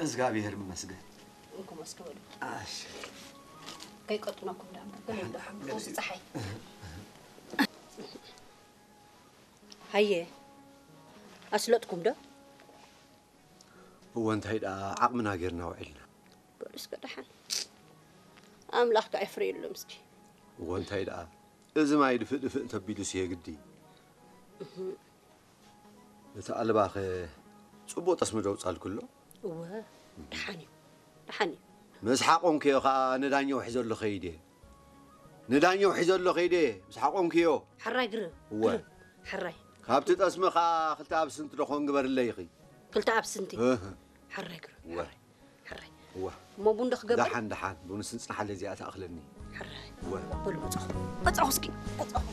እግዚኣብሔር ይመስገን። እንኩም እስኪ በሉ ኣሽ ከይቀጥነኩም ዳ በሉ እንዶ ሓምዱ እዚ ፀሓይ ሃየ ኣስለጥኩም ዶ እወ እንታይ ደኣ ዓቕምና ጌርና ውዒልና። በሉ እስከ ደሓን ኣምላኽ ከዓ ይፍረየሎም እስኪ እወ እንታይ ደኣ እዚ ማይ ድፍእ ድፍእ እንተቢሉስ የግዲ። እቲ ኣልባኸ ጽቡቕ ጠስሚ ደውጻልኩ ኣሎ። እወ ደሓን እዩ ደሓን እዩ ምስ ሓቆንክዮ ኸኣ ንዳኛው ሒዘሎ ኸይደ። ንዳኛው ሒዘሎ ኸይደ ምስ ሓቆንክዮ። ሓራይ ግርም እወ። ግርም ሓራይ ካብቲ ጠስሚ ኸኣ ክልተ ኣብስንቲ ደኾን ግበርለይ ኢኺ። ክልተ ኣብስንቲ እህ፣ ሓራይ ግርም እወ። ሓራይ እወ። እሞ ቡን ዶ ክገብር ደሓን ደሓን ቡን ስንጽናሓለ እዚኣ ትኣኽለኒ። ሓራይ እወ። በሉ መጻኹ መጻኹ እስኪ መጻኹ